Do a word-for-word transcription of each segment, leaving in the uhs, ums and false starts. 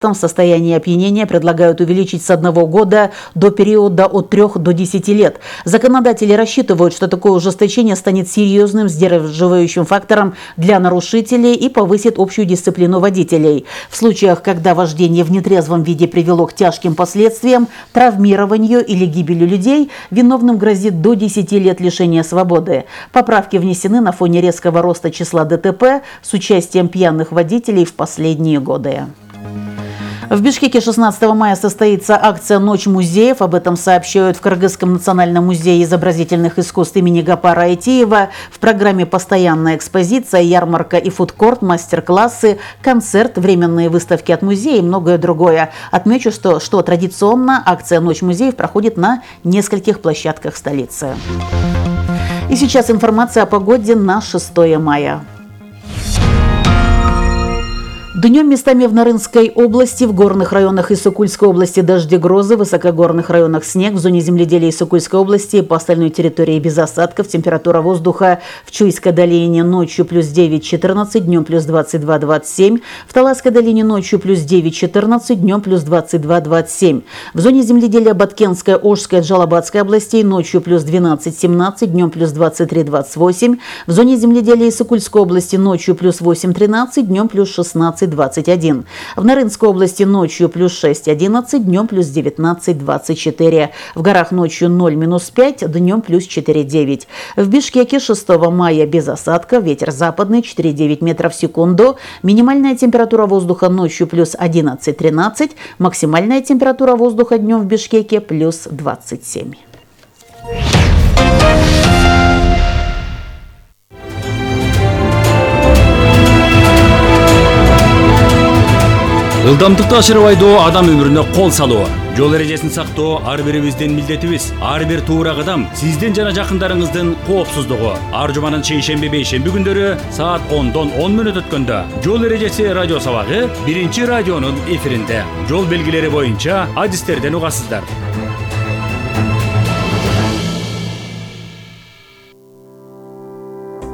В состоянии опьянения предлагают увеличить с одного года до периода от трех до десяти лет. Законодатели рассчитывают, что такое ужесточение станет серьезным сдерживающим фактором для нарушителей и повысит общую дисциплину водителей. В случаях, когда вождение в нетрезвом виде привело к тяжким последствиям, травмированию или гибели людей, виновным грозит до десяти лет лишения свободы. Поправки внесены на фоне резкого роста числа ДТП с участием пьяных водителей в последние годы. В Бишкеке шестнадцатого мая состоится акция «Ночь музеев». Об этом сообщают в Кыргызском национальном музее изобразительных искусств имени Гапара Айтиева. В программе постоянная экспозиция, ярмарка и фудкорт, мастер-классы, концерт, временные выставки от музея и многое другое. Отмечу, что, что традиционно акция «Ночь музеев» проходит на нескольких площадках столицы. И сейчас информация о погоде на шестое мая. Днем местами в Нарынской области, в горных районах Иссыкульской области дожди, грозы, в высокогорных районах снег, в зоне земледелия Иссыкульской области по остальной территории без осадков. Температура воздуха в Чуйской долине ночью плюс девять-четырнадцать, днем плюс двадцать два двадцать семь, в Таласской долине ночью плюс девять-четырнадцать, днем плюс двадцать два двадцать семь. В зоне земледелия Баткенской, Ошской, Джалабадской областей ночью плюс двенадцать-семнадцать, днем плюс двадцать три двадцать восемь. В зоне земледелия Иссыкульской области ночью плюс восемь-тринадцать, днем плюс шестнадцать двадцать один. В Нарынской области ночью плюс шесть-одиннадцать, днем плюс девятнадцать двадцать четыре. В горах ночью ноль минус пять, днем плюс четыре-девять. В Бишкеке шестого мая без осадка, ветер западный четыре-девять метров в секунду. Минимальная температура воздуха ночью плюс одиннадцать-тринадцать, максимальная температура воздуха днем в Бишкеке плюс двадцать семь. Ылдамдыкты ашырып айдоо адам өмүрүнө кол салуу. Жол эрежесин сактоо ар бирибиздин милдетибиз. Ар бир туура кадам сиздин жана жакындарыңыздын коопсуздугу. Ар жуманын шейшемби бейшемби күндөрү саат ондон он мүнөт өткөндө жол эрежеси радио сабагы биринчи радионун эфиринде. Жол белгилери боюнча адистерден угасыздар.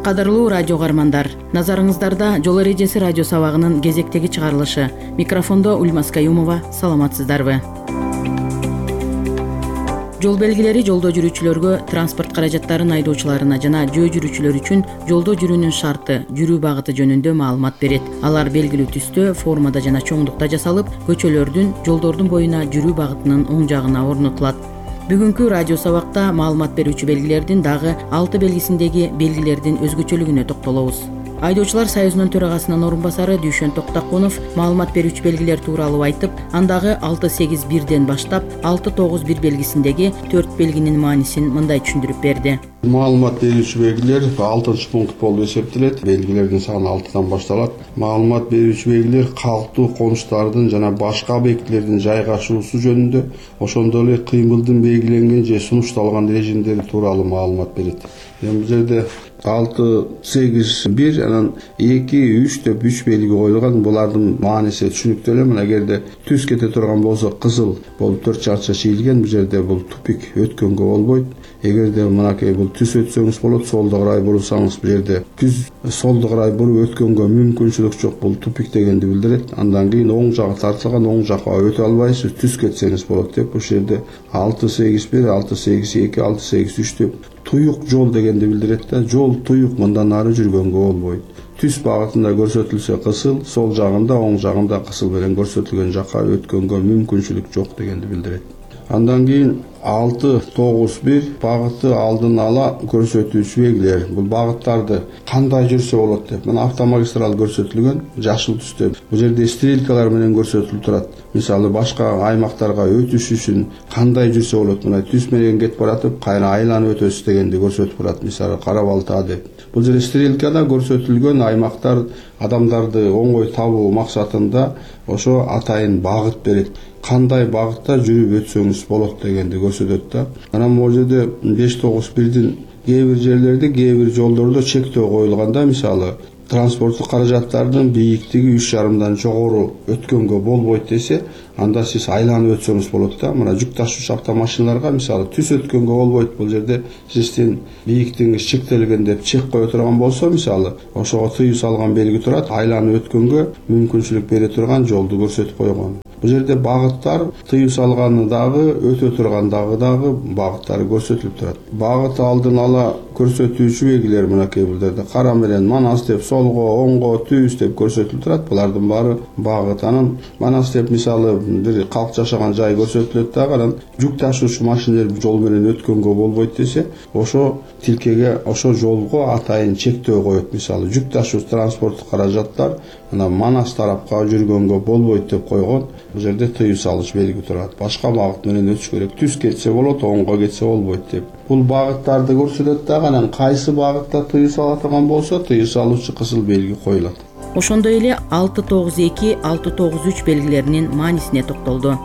Кадырлуу радио каармандар, назарыңыздарда жол эрежеси радио сабагынын кезектеги чыгарылышы. Микрофондо Ульмас Каюмова, саламатсыздарбы? Жол белгилери жолдо жүрүүчүлөргө, транспорт каражаттарын айдоочуларына жана жөө жүрүүчүлөр үчүн жолдо жүрүүнүн шарты, жүрүү багыты жөнүндө маалымат берет. Алар белгилүү түстө, формада жана чоңдукта жасалып, көчөлөрдүн, жолдордун боюна жүрүү багытынын оң жагына орнотулат. Бүгүнкү радио сабакта маалымат берүүчү белгилердин дагы алты белгисиндеги белгилердин өзгөчөлүгүнө токтолобуз. Айдоочулар союзунун төрагасынын орун басары Дүйшөн Токтакунов маалымат берүүчү белгилер тууралуу айтып, андагы алты сегиз бирден баштап алты тогуз бир белгисиндеги төрт белгинин маанисин мындай түшүндүрүп берди. Маалымат берүүчү белгилер алтынчы пункт болуп эсептелет. Белгилердин саны алтыдан башталат. Маалымат берүүчү белгилер калктуу конуштардын жана башка объектилердин жайгашуусу жөнүндө, ошондой эле кыймылдын белгиленген же сунушталган режимдери тууралуу маалымат берет. Эми бул жерде алты сегиз бир анан эки үч деп үч белги коюлган. Булардын мааниси түшүнүктүү эле. Мына эгерде түз кете турган болсо кызыл болуп төрт чарча чийилген, бул жерде бул тупик өткөнгө болбойт. Эгерде мынакей бул түз өтсөңүз болот, солдо карай бурсаңыз бул жерде түз солдо карай буруп өткөнгө мүмкүнчүлүк жок, бул тупик дегенди билдирет. Андан кийин оң жагы тартылган, оң жакка өтө албайсыз, түз кетсеңиз болот деп бул жерде алты сегиз бир, алты сегиз эки, алты сегиз үч деп туюк жол дегенди билдирет да. Жол туюк, мындан ары жүргөнгө болбойт. Түз багытында көрсөтүлсө кысыл, сол жагында, оң жагында кысыл менен көрсөтүлгөн жакка өткөнгө мүмкүнчүлүк жок дегенди билдирет. Андан кийин алты тогуз бир багытты алдын ала көрсөтүүчү белгилер. Бул багыттарды кандай жүрсө болот деп. Мына автомагистрал көрсөтүлгөн жашыл түстө. Бул жерде стрелкалар менен көрсөтүлүп турат. Мисалы башка аймактарга өтүш үчүн кандай жүрсө болот. Мына түз менен кетип баратып, кайра айланып өтөсүз дегенди көрсөтүп турат. Мисалы Кара-Балта деп. Бул жерде стрелкада көрсөтүлгөн аймактар адамдарды оңой табуу максатында ошо атайын багыт берет. Кандай багытта жүрүп өтсөңүз болот дегенди көрсөтөт да. Анан бул жерде беш тогуз бирдин кээ бир жерлерде, кээ бир жолдордо чектөө коюлганда, мисалы транспорттук каражаттардын бийиктиги үч жарымдан жогору өткөнгө болбойт десе, анда сиз айланып өтсөңүз болот да. Мына жүк ташуучу автомашиналарга мисалы түз өткөнгө болбойт. Бул жерде сиздин бийиктигиңиз чектелген деп чек кое турган болсо, мисалы ошого тыюу салган белги турат, айланып өткөнгө мүмкүнчүлүк бере турган жолду көрсөтүп койгон. Бул жерде багыттар тыюу салганы дагы, өтө тургандагы дагы багыттары көрсөтүлүп турат. Багыт алдын ала көрсөтүүчү белгилер мынакей бул жерде кара менен манас деп, солго, оңго, түз деп көрсөтүлүп турат. Булардын баары багыт. Анан манас деп мисалы бир калк жашаган жай көрсөтүлөт дагы, анан жүк ташуучу машиналар жол менен өткөнгө болбойт десе, ошо тилкеге, ошо жолго атайын чектөө коет. Мисалы жүк ташуучу транспорттук каражаттар анан манас тарапка жүргөнгө болбойт деп койгон. Бул жерде тыюу салыч белги турат. Башка багыт менен өтүш керек. Түз кетсе болот, оңго кетсе болбойт деп. Бул багыттарды көрсөтөт дагы, анан кайсы багытта тыюу сала турган болсо, тыюу салуучу кызыл белги коюлат. Ошондой эле алты тогуз эки, алты тогуз үч белгилеринин маанисине токтолду.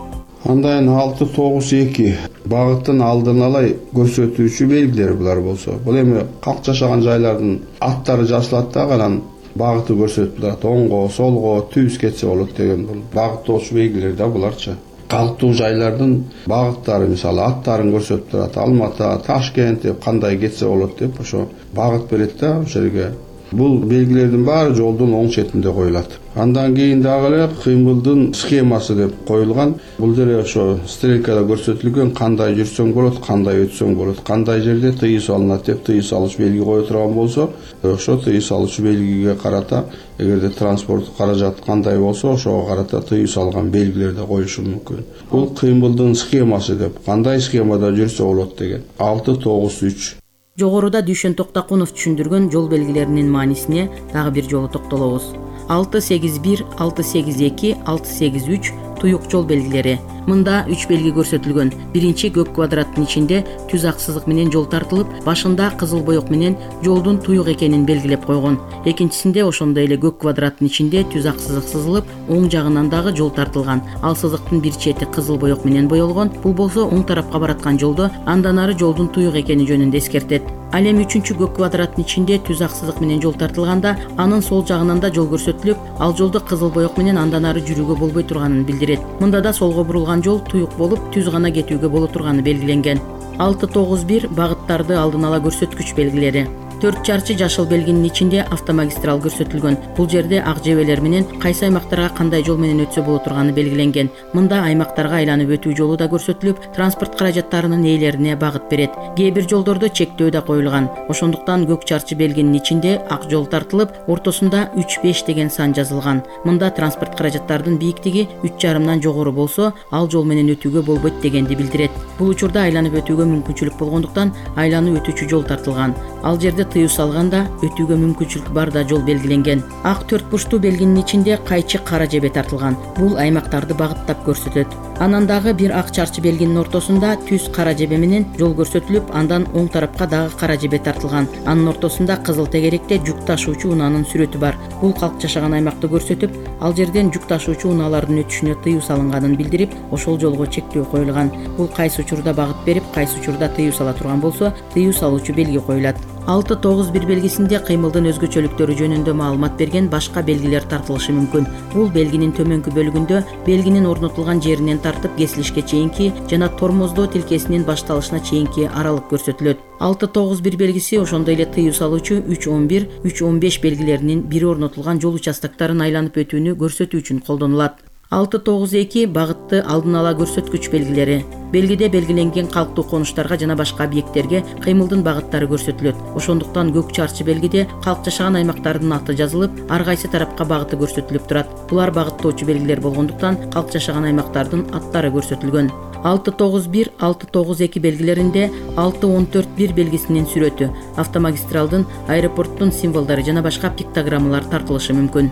Андан алты тогуз эки багыттын алдын ала көрсөтүүчү белгилер булар болсо. Бул эми калк жашаган жайлардын аттары жазылат дагы, анан багыты көрсөтүп турат. Оңго, солго, түз кетсе болот деген бул багыттоочу белгилер да буларчы. Калктуу жайлардын багыттары мисалы аттарын көрсөтүп турат. Алматы, Ташкент деп кандай кетсе болот деп ошо багыт берет да ошол жерге. Бул белгилердин баары жолдун оң четинде коюлат. Андан кийин дагы эле кыймылдын схемасы деп коюлган. Бул жерде ошо стрелкада көрсөтүлгөн кандай жүрсөң болот, кандай өтсөң болот, кандай жерде тыюу салынат деп тыюу салыч белги кое турган болсо, ошо тыюу салуучу белгиге карата эгерде транспорттук каражат кандай болсо, ошого карата тыюу салган белгилер да коюшу мүмкүн. Бул кыймылдын схемасы деп, кандай схемада жүрсө болот деген. алты тогуз үч. Жогоруда Дүйшөн Токтакунов түшүндүргөн жол белгилеринин маанисине дагы бир жолу токтолобуз. алты сегиз бир, алты сегиз эки, алты сегиз үч туюк жол белгилери. Мында үч белги көрсөтүлгөн. Биринчи көк квадраттын ичинде түз ак сызык менен жол тартылып, башында кызыл боек менен жолдун туюк экенин белгилеп койгон. Экинчисинде ошондой эле көк квадраттын ичинде түз ак сызык сызылып, оң жагынан дагы жол тартылган. Ал сызыктын бир чети кызыл боек менен боелгон. Бул болсо оң тарапка бараткан жолдо, андан ары жолдун туюк экени жөнүндө эскертет. Ал эми үчүнчү көк квадраттын ичинде түз ак сызык менен жол тартылганда, анын сол жагынан да жол көрсөтүлүп, ал жолду кызыл боек менен андан ары жүрүүгө болбой турганын билдирет. Мында да солго бурулган жол туюк болуп, түз гана кетүүгө боло турганы белгиленген. алты тогуз бир багыттарды алдын ала көрсөткүч белгилери. төрт чарчы жашыл белгинин ичинде автомагистрал көрсөтүлгөн. Бул жерде ак жебелер менен кайсы аймактарга кандай жол менен өтсө боло турганы белгиленген. Мында аймактарга айланып өтүү жолу да көрсөтүлүп, транспорт каражаттарынын ээлерине багыт берет. Кээ бир жолдордо чектөө да коюлган. Ошондуктан көк чарчы белгинин ичинде ак жол тартылып, ортосунда үч беш деген сан жазылган. Мында транспорт каражаттардын бийиктиги үч жарымдан жогору болсо, ал жол менен өтүүгө болбойт дегенди билдирет. Бул учурда айланып өтүүгө мүмкүнчүлүк болгондуктан айланып өтүүчү жол тартылган. Ал жерде тыюу салганда өтүүгө мүмкүнчүлүк бар да жол белгиленген. Ак төрт бурчтуу белгинин ичинде кайчы кара жебе тартылган. Бул аймактарды багыттап көрсөтөт. Анан дагы бир ак чарчы белгинин ортосунда түз кара жебе менен жол көрсөтүлүп, андан оң тарапка дагы кара жебе тартылган. Анын ортосунда кызыл тегеректе жүк ташуучу унаанын сүрөтү бар. Бул калк жашаган аймакты көрсөтүп, ал жерден жүк ташуучу унаалардын өтүшүнө тыюу салынганын билдирип, ошол жолго чектөө коюлган. Бул кайсы учурда багыт берип, кайсы учурда тыюу сала турган болсо, тыюу салуучу белги коюлат. алты тогуз бир белгисинде кыймылдын өзгөчөлүктөрү жөнүндө маалымат берген башка белгилер тартылышы мүмкүн. Бул белгинин төмөнкү бөлүгүндө белгинин орнотулган жеринен тартып кесилишке чейинки жана тормоздоо тилкесинин башталышына чейинки аралык көрсөтүлөт. алты тогуз бир белгиси ошондой эле тыюу салуучу үч он бир, үч он беш белгилеринин бири орнотулган жол участоктарын айланып өтүүнү көрсөтүү үчүн колдонулат. алты тогуз эки багытты алдын ала көрсөткүч белгилери. Белгиде белгиленген калктуу конуштарга жана башка объекттерге кыймылдын багыттары көрсөтүлөт. Ошондуктан көк чарчы белгиде калк жашаган аймактардын аты жазылып, ар кайсы тарапка багыты көрсөтүлүп турат. Булар багыттоочу белгилер болгондуктан калк жашаган аймактардын аттары көрсөтүлгөн. алты тогуз бир, алты тогуз эки белгилеринде алты он төрт бир белгисинин сүрөтү, автомагистралдын, аэропорттун символдору жана башка пиктограммалар тартылышы мүмкүн.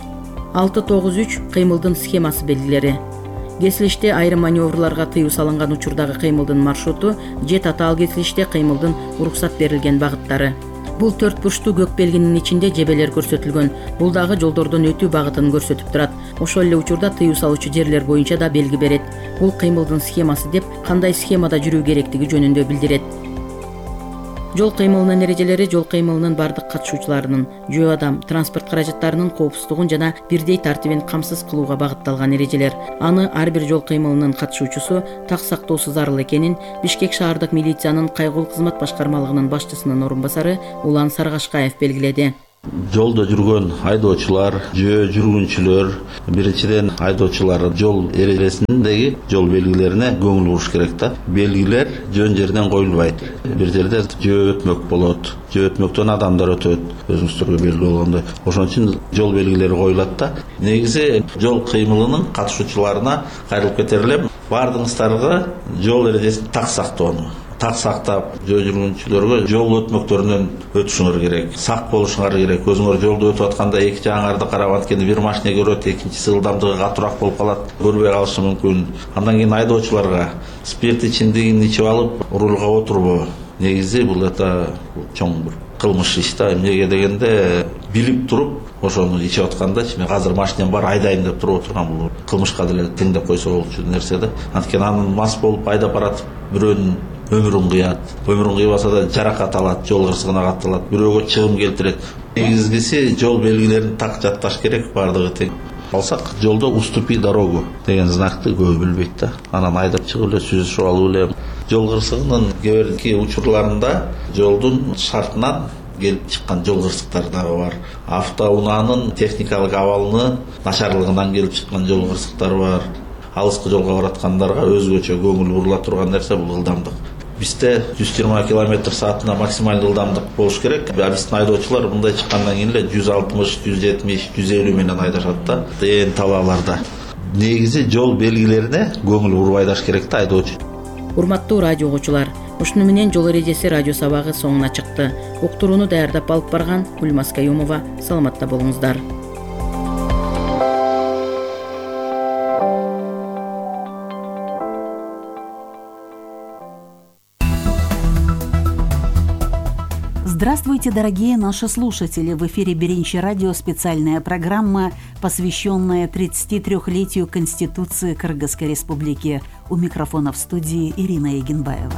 алты тогуз үч кыймылдын схемасы белгилери. Кесилиште айрым маневрларга тыюу салынган учурдагы кыймылдын маршруту же татаал кесилиште кыймылдын уруксат берилген багыттары. Бул төрт бурчтуу көк белгинин ичинде жебелер көрсөтүлгөн. Бул дагы жолдордон өтүү багытын көрсөтүп турат. Ошол эле учурда тыюу салуучу жерлер боюнча да белги берет. Бул кыймылдын схемасы деп кандай схемада жүрүү керектиги жөнүндө билдирет. Жол кыймылынын эрежелери жол кыймылынын бардык катышуучуларынын жөө адам, транспорт каражаттарынын коопсуздугун жана бирдей тартибин камсыз кылууга багытталган эрежелер. Аны ар бир жол кыймылынын катышуучусу так сактоосу зарыл экенин Бишкек шаардык милициянын кайгылуу кызмат башкармалыгынын башчысынын орун басары Улан Саргашкаев белгиледи. Жолдо жүргөн айдоочулар, жөө жүргүнчүлөр биринчиден айдоочулар жол эрежесиндеги жол белгилерине көңүл буруш керек да. Белгилер жөн жерден коюлбайт. Бир жерде жөө өтмөк болот, жөө өтмөктөн адамдар өтөт, өзүңүздөргө белгилүү болгондой. Ошон үчүн жол белгилери коюлат да. Негизи жол кыймылынын катышуучуларына кайрылып кетер элем. Бардыгыңыздарга жол эрежесин так сактоону, так сактап, жөө жүргүнчүлөргө жол өтмөктөрүнөн өтүшүңөр керек. Сак болушуңар керек. Өзүңөр жолдо өтүп атканда эки жагыңарды карап анткени бир машина көрөт, экинчиси ылдамдыгы катуураак болуп калат, көрбөй калышы мүмкүн. Андан кийин айдоочуларга спирт ичимдигин ичип алып рулга отурбоо. Негизи бул это чоң бир кылмыш иш да. Эмнеге дегенде билип туруп ошону ичип атканда мен азыр машинем бар айдайм деп туруп отурган бул кылмышка деле теңдеп койсо болчу нерсе да. Анткени анын мас болуп айдап баратып бирөөнүн өмүрүн кыят, өмүрүн кыйбаса да жаракат алат, жол кырсыгына катталат, бирөөгө чыгым келтирет. Негизгиси жол белгилерин так жатташ керек, бардыгы тең. Алсак жолдо уступи дорогу деген знакты көбү билбейт да. Анан айдап чыгып эле сүзүшүп алып эле жол кырсыгынын кээ бирки учурларында жолдун шартынан келип чыккан жол кырсыктары дагы бар. Автоунаанын техникалык абалынын начарлыгынан келип чыккан жол кырсыктары бар. Алыскы жолго бараткандарга өзгөчө көңүл бурула турган нерсе бул ылдамдык. Бизде жүз жыйырма километр саатына максималдуу ылдамдык болуш керек. Биздин айдоочулар мындай чыккандан кийин эле жүз алтымыш, жүз жетимиш, жүз элүү менен айдашат да. Ээн талааларда. Негизи жол белгилерине көңүл буруп айдаш керек да айдоочу. Урматтуу радио угуучулар, ушуну менен жол эрежеси радио сабагы соңуна чыкты. Уктурууну даярдап алып барган Гүлмаз Каюмова. Саламатта болуңуздар. Здравствуйте, дорогие наши слушатели! В эфире Беренчи радио специальная программа, посвященная тридцатитрёхлетию Конституции Кыргызской Республики. У микрофона в студии Ирина Егенбаева.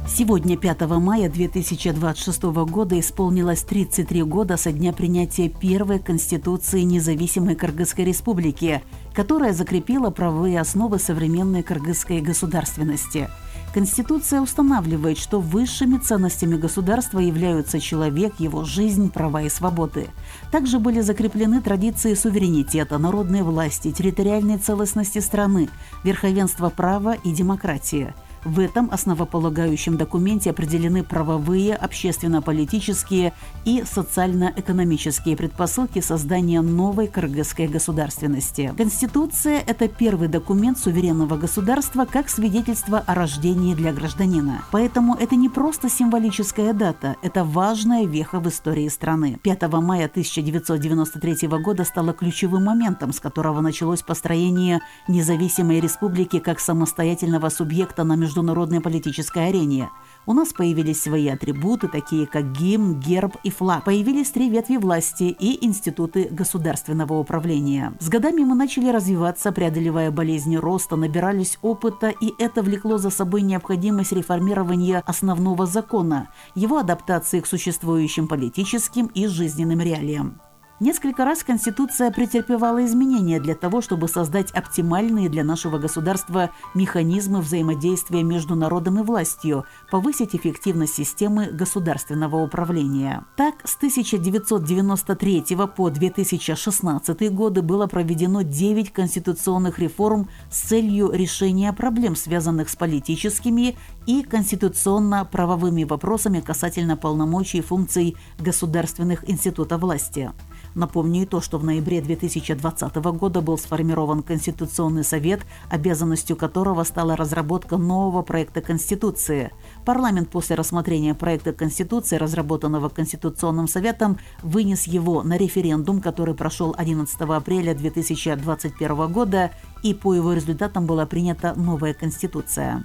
Сегодня, пятого мая две тысячи двадцать шестого года, исполнилось тридцать три года со дня принятия первой Конституции независимой Кыргызской Республики, которая закрепила правовые основы современной кыргызской государственности. Конституция устанавливает, что высшими ценностями государства являются человек, его жизнь, права и свободы. Также были закреплены традиции суверенитета, народной власти, территориальной целостности страны, верховенства права и демократии. В этом основополагающем документе определены правовые, общественно-политические и социально-экономические предпосылки создания новой кыргызской государственности. Конституция – это первый документ суверенного государства как свидетельство о рождении для гражданина. Поэтому это не просто символическая дата, это важная веха в истории страны. пятого мая тысяча девятьсот девяносто третьего года стало ключевым моментом, с которого началось построение независимой республики как самостоятельного субъекта на международном международной политической арене. У нас появились свои атрибуты, такие как гимн, герб и флаг. Появились три ветви власти и институты государственного управления. С годами мы начали развиваться, преодолевая болезни роста, набирались опыта, и это влекло за собой необходимость реформирования основного закона, его адаптации к существующим политическим и жизненным реалиям. Несколько раз Конституция претерпевала изменения для того, чтобы создать оптимальные для нашего государства механизмы взаимодействия между народом и властью, повысить эффективность системы государственного управления. Так, с тысяча девятьсот девяносто третьего по две тысячи шестнадцатый годы было проведено девять конституционных реформ с целью решения проблем, связанных с политическими и конституционно-правовыми вопросами касательно полномочий и функций государственных институтов власти. Напомню и то, что в ноябре две тысячи двадцатого года был сформирован Конституционный совет, обязанностью которого стала разработка нового проекта Конституции. Парламент после рассмотрения проекта Конституции, разработанного Конституционным советом, вынес его на референдум, который прошел одиннадцатого апреля две тысячи двадцать первого года, и по его результатам была принята новая Конституция.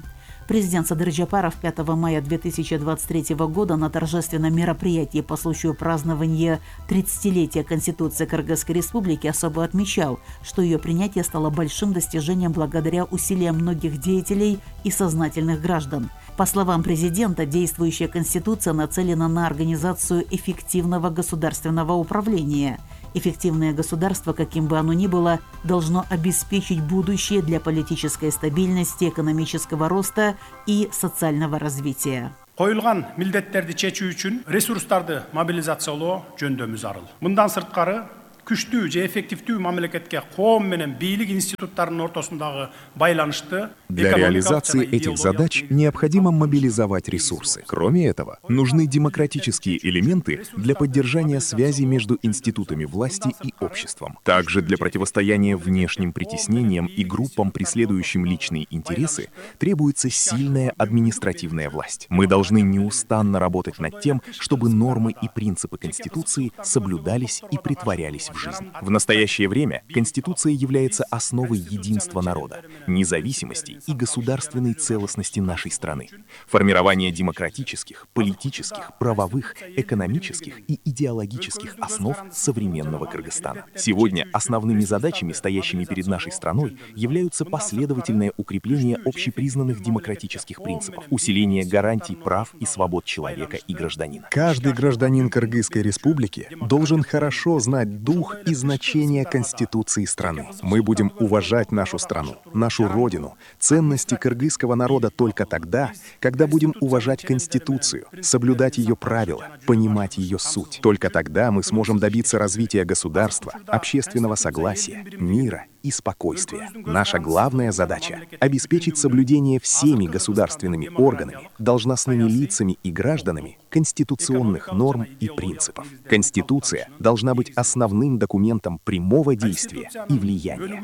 Президент Садыр Джапаров пятого мая две тысячи двадцать третьего года на торжественном мероприятии по случаю празднования тридцатилетия Конституции Кыргызской Республики особо отмечал, что ее принятие стало большим достижением благодаря усилиям многих деятелей и сознательных граждан. По словам президента, действующая Конституция нацелена на организацию эффективного государственного управления. Эффективное государство, каким бы оно ни было, должно обеспечить будущее для политической стабильности, экономического роста и социального развития. Коюлган милдеттерди чечүү үчүн ресурстарды мобилизациялоо жөндөмү зарыл. Мындан сырткары күчтүү же эффективдүү мамлекетке коом менен бийлик институттарынын ортосундагы байланышты. Для реализации этих задач необходимо мобилизовать ресурсы. Кроме этого, нужны демократические элементы для поддержания связи между институтами власти и обществом. Также для противостояния внешним притеснениям и группам, преследующим личные интересы, требуется сильная административная власть. Мы должны неустанно работать над тем, чтобы нормы и принципы Конституции соблюдались и притворялись в жизнь. В настоящее время Конституция является основой единства народа, независимости и государственной целостности нашей страны, формирование демократических, политических, правовых, экономических и идеологических основ современного Кыргызстана. Сегодня основными задачами, стоящими перед нашей страной, являются последовательное укрепление общепризнанных демократических принципов, усиление гарантий прав и свобод человека и гражданина. Каждый гражданин Кыргызской республики должен хорошо знать дух и значение Конституции страны. Мы будем уважать нашу страну, нашу родину, ценности кыргызского народа только тогда, когда будем уважать Конституцию, соблюдать ее правила, понимать ее суть. Только тогда мы сможем добиться развития государства, общественного согласия, мира и спокойствия. Наша главная задача — обеспечить соблюдение всеми государственными органами, должностными лицами и гражданами конституционных норм и принципов. Конституция должна быть основным документом прямого действия и влияния.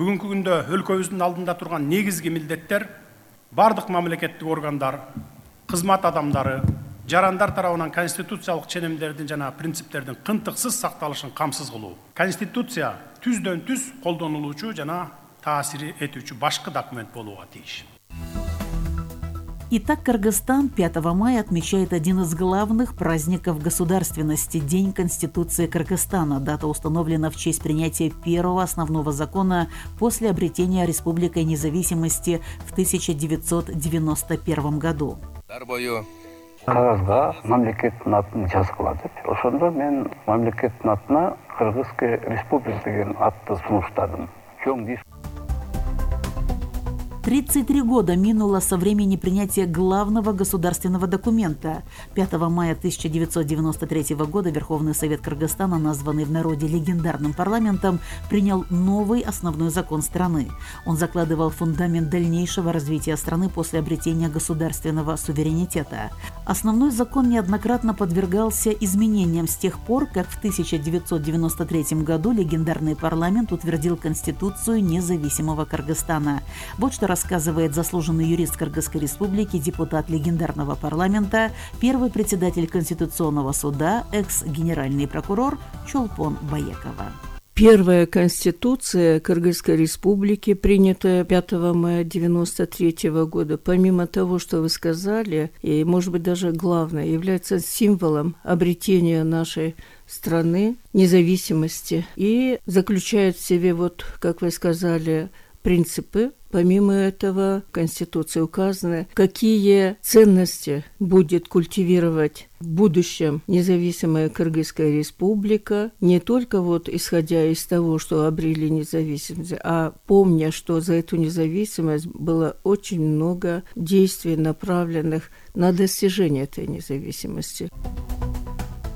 Бүгүнкү күндө өлкөбүздүн алдында турган негизги милдеттер бардык мамлекеттик органдар, кызмат адамдары, жарандар тарабынан конституциялык ченемдердин жана принциптердин кынтыксыз сакталышын камсыз кылуу. Конституция түздөн түз колдонулуучу жана таасир этүүчү башкы документ болууга тийиш. Итак, Кыргызстан пятого мая отмечает один из главных праздников государственности – День Конституции Кыргызстана. Дата установлена в честь принятия первого основного закона после обретения Республикой независимости в тысяча девятьсот девяносто первом году. Кагазга мамлекеттин атын жазгыла деп, ошондо мен мамлекеттин атына Кыргызская республика деген атты сунуштадым. тридцать три года минуло со времени принятия главного государственного документа. пятого мая тысяча девятьсот девяносто третьего года Верховный Совет Кыргызстана, названный в народе легендарным парламентом, принял новый основной закон страны. Он закладывал фундамент дальнейшего развития страны после обретения государственного суверенитета. Основной закон неоднократно подвергался изменениям с тех пор, как в тысяча девятьсот девяносто третьем году легендарный парламент утвердил Конституцию независимого Кыргызстана. Вот что рассказывает заслуженный юрист Кыргызской республики, депутат легендарного парламента, первый председатель Конституционного суда, экс-генеральный прокурор Чолпон Баекова. Первая Конституция Кыргызской республики, принятая пятого мая девяносто третьего года, помимо того, что вы сказали, и, может быть, даже главное, является символом обретения нашей страны, независимости, и заключает в себе, вот, как вы сказали, принципы. Помимо этого, в Конституции указано, какие ценности будет культивировать в будущем независимая Кыргызская республика, не только вот исходя из того, что обрели независимость, а помня, что за эту независимость было очень много действий, направленных на достижение этой независимости.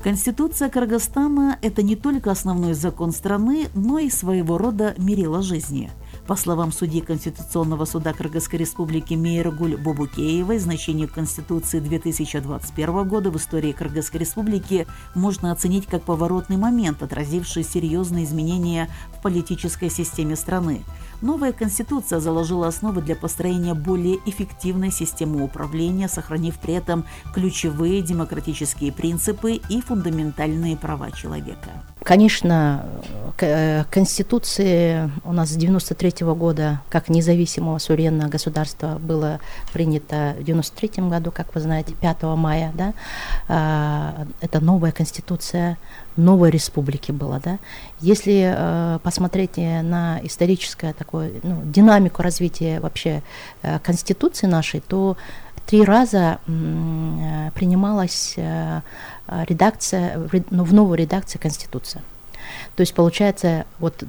Конституция Кыргызстана – это не только основной закон страны, но и своего рода мерило жизни. По словам судьи Конституционного суда Кыргызской республики Мейргуль Бобукеевой, значение Конституции две тысячи двадцать первого года в истории Кыргызской республики можно оценить как поворотный момент, отразивший серьезные изменения в политической системе страны. Новая Конституция заложила основы для построения более эффективной системы управления, сохранив при этом ключевые демократические принципы и фундаментальные права человека. Конечно, Конституции у нас с девяносто третьего года, как независимого суверенного государства, было принято в девяносто третьем году, как вы знаете, пятого мая, да, это новая Конституция новой республики была, да. Если э, посмотреть на историческое такое, ну, динамику развития вообще э, Конституции нашей, то три раза э, принималась э, редакция, ну, в новую редакцию Конституции. То есть получается, вот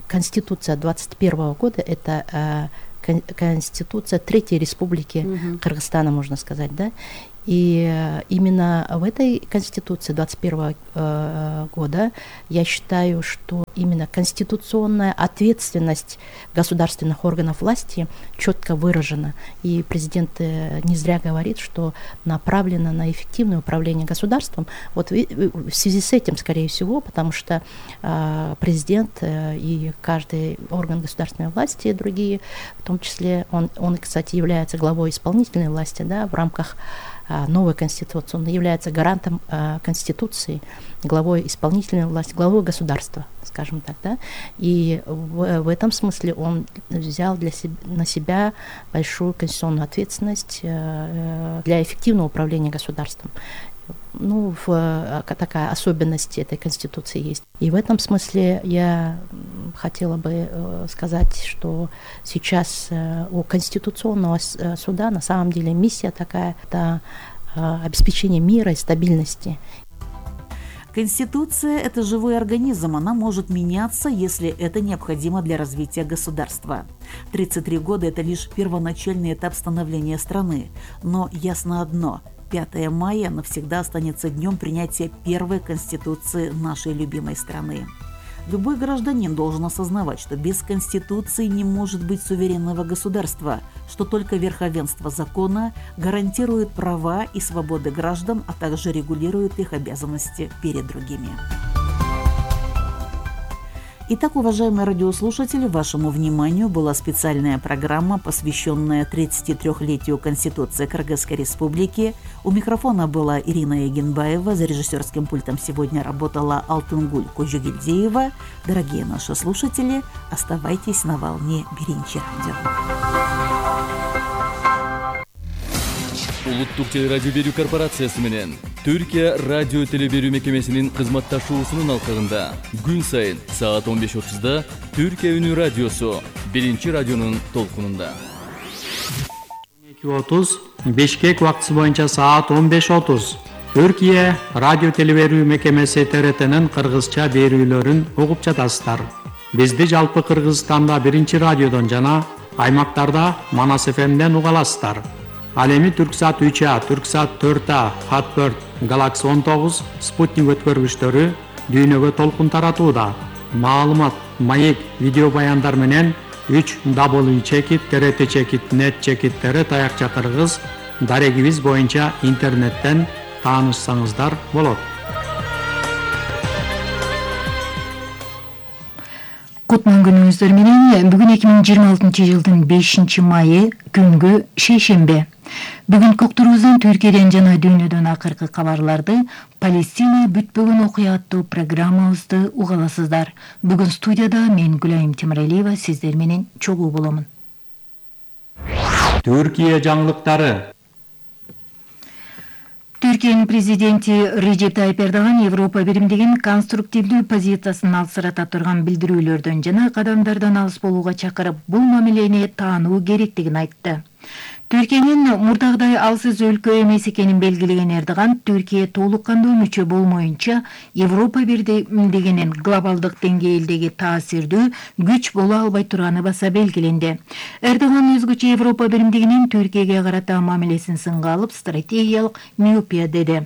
Конституция двадцать первого года это э, кон, Конституция Третьей Республики mm-hmm. Кыргызстана, можно сказать, да. И именно в этой Конституции двадцать первого э, года я считаю, что именно конституционная ответственность государственных органов власти четко выражена. И президент не зря говорит, что направлено на эффективное управление государством. Вот в связи с этим, скорее всего, потому что э, президент э, и каждый орган государственной власти, и другие, в том числе, он, он, кстати, является главой исполнительной власти, да, в рамках новой Конституции. Он является гарантом э, Конституции, главой исполнительной власти, главой государства, скажем так, да. И в, в этом смысле он взял для себя, на себя большую конституционную ответственность э, для эффективного управления государством. Ну, в, такая особенность этой Конституции есть. И в этом смысле я хотела бы э, сказать, что сейчас э, у Конституционного суда на самом деле миссия такая, это э, обеспечение мира и стабильности. Конституция – это живой организм, она может меняться, если это необходимо для развития государства. тридцать три года – это лишь первоначальный этап становления страны, но ясно одно – пятое мая навсегда останется днем принятия первой Конституции нашей любимой страны. Любой гражданин должен осознавать, что без Конституции не может быть суверенного государства, что только верховенство закона гарантирует права и свободы граждан, а также регулирует их обязанности перед другими. Итак, уважаемые радиослушатели, вашему вниманию была специальная программа, посвященная тридцатитрёхлетию Конституции Кыргызской Республики. У микрофона была Ирина Егенбаева, за режиссерским пультом сегодня работала Алтынгуль Кожугельдеева. Дорогие наши слушатели, оставайтесь на волне Биринчи радио. Улуттук телерадио берүү корпорациясы менен Түркия радио телеберүү мекемесинин кызматташуусунун алкагында күн сайын саат он беш отузда Түркия үнү радиосу биринчи радионун толкунунда. он эки отуз Бишкек убактысы боюнча саат он беш отуз Түркия радио телеберүү мекемеси Т Р Т'нин кыргызча берүүлөрүн угуп жатасыздар. Бизди жалпы Кыргызстанда биринчи радиодон жана аймактарда Манас эф эмден уга аласыздар. Ал эми Түрксат үч А, Түрксат төрт А, Хатберт, Галакси он тогуз, Спутник өткөргүчтөрү дүйнөгө толкун таратууда. Маалымат, маек, видео баяндар менен үч дабл ю чекит, Т Р Т чекит, нет чекиттери таякча кыргыз дарегибиз боюнча интернеттен таанышсаңыздар болот. Кутман күнүңүздөр менен бүгүн эки миң жыйырма алтынчы жылдын бешинчи майы күнгү шейшембе. Бүгүнкү уктуруубуздан Түркияден жана дүйнөдөн акыркы кабарларды Палестина бүтпөгөн окуя аттуу программабызды уга аласыздар. Бүгүн студияда мен Гүлайым Темиралиева сиздер менен чогуу боломун. Түркия жаңылыктары. Түркиянын президенти Режеп Тайип Эрдоган Европа биримдигин конструктивдүү позициясын алсырата турган билдирүүлөрдөн жана кадамдардан алыс болууга чакырып, бул мамилени таануу керектигин айтты. Түркиянын мурдагыдай алсыз өлкө эмес экенин белгилеген Эрдоган, Түркия толук кандуу мүчө болмоюнча Европа биримдигинин глобалдык деңгээлдеги таасирдүү күч боло албай турганы баса белгиленди. Эрдоган өзгөчө Европа биримдигинин Түркияга карата мамилесин сынга алып, стратегиялык миопия деди.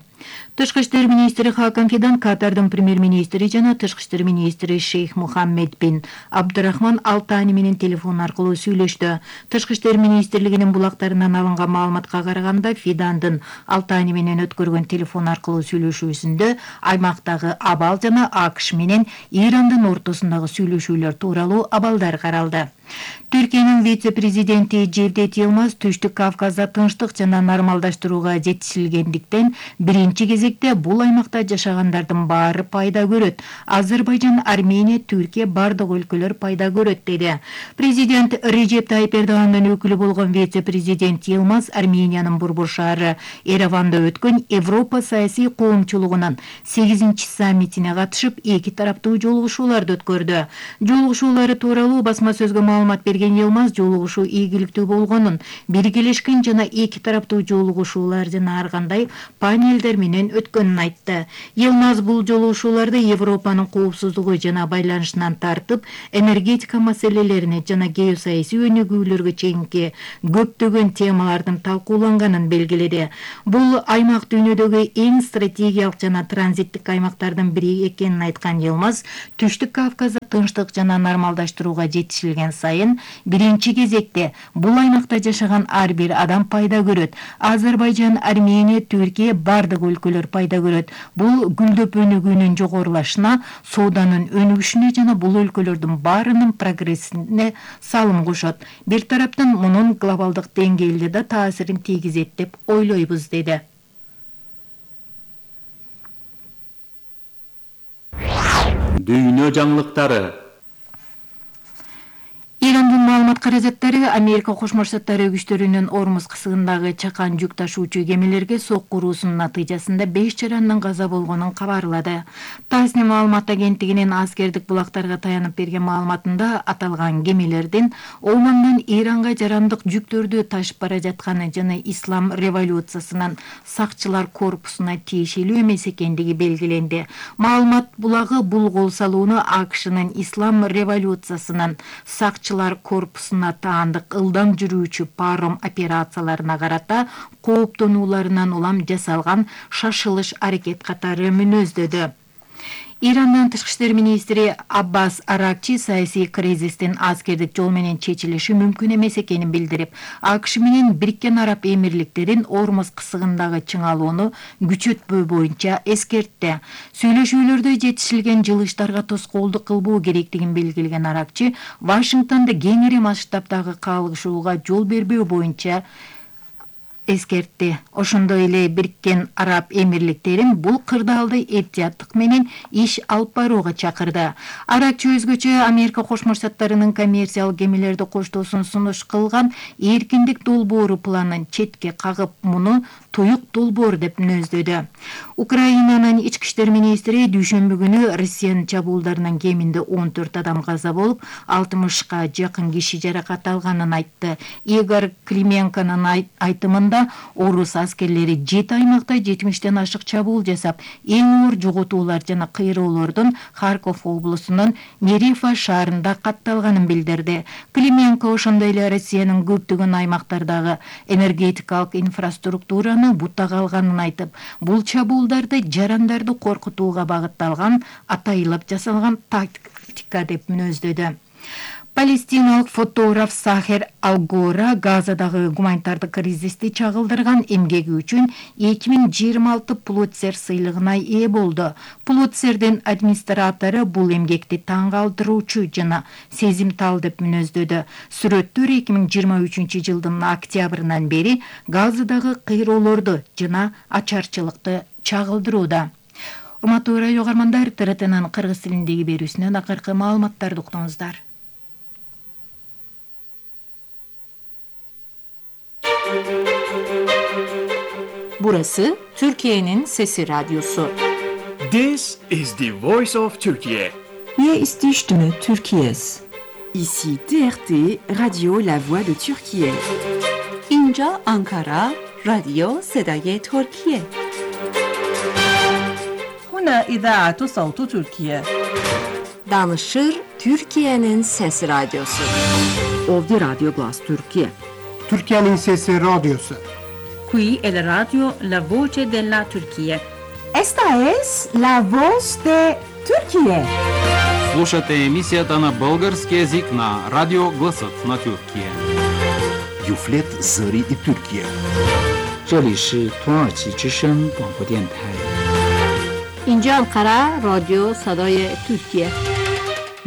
Тышкы иштер министри Хакан Фидан, Катардын премьер-министри жана тышкы иштер министри Шейх Мухаммед бин Абдурахман Алтани менен телефон аркылуу сүйлөштү. Тышкы иштер министрлигинин булактарынан алынган маалыматка караганда, Фидандын Алтани менен өткөргөн телефон аркылуу сүйлөшүүсүндө аймактагы абал жана АКШ менен Ирандын ортосундагы сүйлөшүүлөр тууралуу абалдар каралды. Түркиянын вице-президенти Жевдет Йылмаз Түштүк Кавказда тынчтык жана нормалдаштырууга жетишилгендиктен биринчи биринчи кезекте бул аймакта жашагандардын баары пайда көрөт. Азербайжан, Армения, Түркия бардык өлкөлөр пайда көрөт деди. Президент Режеп Тайип Эрдогандын өкүлү болгон вице-президент Йылмаз Армениянын Борбор шаары Ереванда өткөн Европа саясий коомчулугунун сегизинчи саммитине катышып, эки тараптуу жолугушууларды өткөрдү. Жолугушуулары тууралуу басма сөзгө маалымат берген Йылмаз жолугушуу ийгиликтүү болгонун, биргелешкен жана эки тараптуу жолугушуулар жана ар кандай панелдер менен өткөнүн айтты. Йылмаз бул жолугушууларды Европанын коопсуздугу жана байланышынан тартып, энергетика маселелерине жана геосаясий өнүгүүлөргө чейинки көптөгөн темалардын талкууланганын белгиледи. Бул аймак дүйнөдөгү эң стратегиялык жана транзиттик аймактардын бири экенин айткан Йылмаз, Түштүк Кавказда тынчтык жана нормалдаштырууга жетишилген сайын биринчи кезекте бул аймакта жашаган ар бир адам пайда көрөт. Азербайжан, Армения, Түркия бардык өлкөлөр пайда көрөт. Бул гүлдөп өнүгүүнүн жогорулашына, сооданын өнүгүшүнө жана бул өлкөлөрдүн баарынын прогрессине салым кошот. Бир тараптан мунун глобалдык деңгээлде да таасирин тийгизет деп ойлойбуз деди. Дүйнө жаңылыктары. Ирандын маалымат каражаттары Америка Кошмо Штаттары күчтөрүнүн Ормуз кысыгындагы чакан жүк ташуучу кемелерге сокку уруусунун натыйжасында беш жарандын каза болгонун кабарлады. Тасни маалымат агенттигинин аскердик булактарга таянып берген маалыматында аталган кемелердин Омандан Иранга жарандык жүктөрдү ташып бара жатканы жана Ислам революциясынын сакчылар корпусуна тиешелүү эмес экендиги белгиленди. Маалымат булагы бул кол салууну АКШнын Ислам революциясынын сакчылар корпусуна таандык ылдам жүрүүчү паром операцияларына карата кооптонууларынан улам жасалган шашылыш аракет катары мүнөздөдү. Ирандын тышкы иштер министри Аббас Аракчи саясий кризистин аскердик жол менен чечилиши мүмкүн эмес экенин билдирип, АКШ менен Бириккен Араб Эмирликтерин Ормуз кысыгындагы чыңалууну күчөтпөө боюнча эскертти. Сүйлөшүүлөрдө жетишилген жылыштарга тоскоолдук кылбоо керектигин белгилеген Аракчи, Вашингтонду кеңири масштабдагы кагылышууга жол бербөө боюнча эскертти. Ошондой эле Бириккен Араб Эмирликтерин бул кырдаалды этияттык менен иш алып барууга чакырды. Аракчы өзгөчө Америка Кошмо Штаттарынын коммерциялык кемелерди коштоосун сунуш кылган эркиндик долбоору планын четке кагып, муну туюк долбоор деп мүнөздөдү. Украинанын ички иштер министри дүйшөмбү күнү Россиянын чабуулдарынан кеминде он төрт адам каза болуп, алтымышка жакын киши жаракат алганын айтты. Игорь Клименконун айтымында орус аскерлери жети аймакта жетимиштен ашык чабуул жасап, эң оор жоготуулар жана кыйроолордун Харьков облусунун Мерифа шаарында катталганын билдирди. Клименко ошондой эле Россиянын көптөгөн аймактардагы энергетикалык инфраструктураны буттага алганын айтып, бул чабуулдарды жарандарды коркутууга багытталган атайылып жасалган тактика деп мүнөздөдү. Палестиналык фотограф Сахер Алгора Газадагы гуманитардык кризисти чагылдырган эмгеги үчүн эки миң жыйырма алты Пулитцер сыйлыгына ээ болду. Пулитцердин администратору бул эмгекти таң калтыруучу жана сезимтал деп мүнөздөдү. Сүрөттөр эки миң жыйырма үчүнчү жылдын октябрынан бери Газадагы кыйроолорду жана ачарчылыкты чагылдырууда. Урматтуу радио угармандар, Т Р Тнын кыргыз тилиндеги берүүсүнөн акыркы маалыматтарды уктуңуздар. Burası Türkiye'nin Sesi Radyosu. This is the voice of Turkey. Hier ist die Stimme Türkiye's. Ici T R T Radio La Voix de Türkiye. Inca Ankara Radio Sedaye Türkiye. Huna İdaatu Sautu Türkiye. Danışır Türkiye'nin Sesi Radyosu. Ovdi Radyo Glas Türkiye. Türkiye'nin Sesi Radyosu. Qui è la radio La Voce della Turquía. Esta es la voz de Turquía. Слушате емисията на български език на радио Гласът на Тюркия. Юфлет Зари и Türkiye. 这里是土耳其之声广播电台。 اینجا انقره رادیو صدای ترکیه.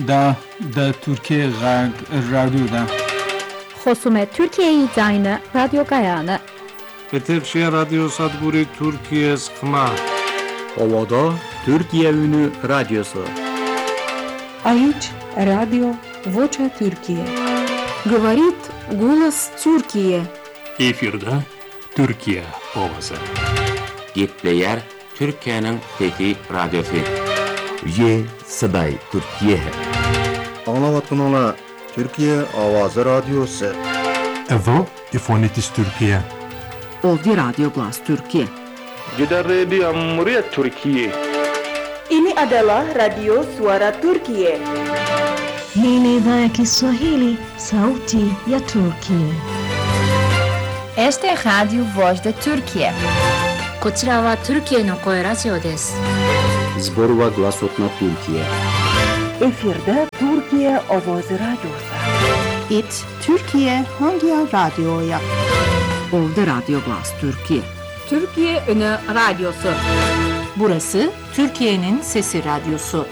دا دا Türkiye radyoda. خصوم ترکیه زاین رادیو گایانه. Etevşehir Radyo Sadguri Türkiye sıkma. Ovoda Türkiye Ünü Radyosu. Aici радио Vocea Türkiye. Говорит голос Türkiye. Efirde Türkiye ovası. Gepleyer Türkiye'nin Fethi Radyosu. Ye Saday Türkiye. Anlavatın ola Türkiye Avazı Radyosu. Evo Ifonitis Türkiye. Ovdi Radio Glas Türkiye. Gider di Amuriye Türkiye. Ini adalah Radio Suara Turkiye. Hii ni idhaa ya Kiswahili, sauti ya Turkiye. Esta é Radio Voz da Turkiye. こちらはトルキエの声ラジオです。 Zborova Glasot na Türkiye. Efirde Türkiye Ovozi Radyosu. It Türkiye Hangi Radyo'ya? Ovdi Radio Glas Türkiye. Türkiye Ünü Radyosu. Burası Türkiye'nin Sesi Radyosu.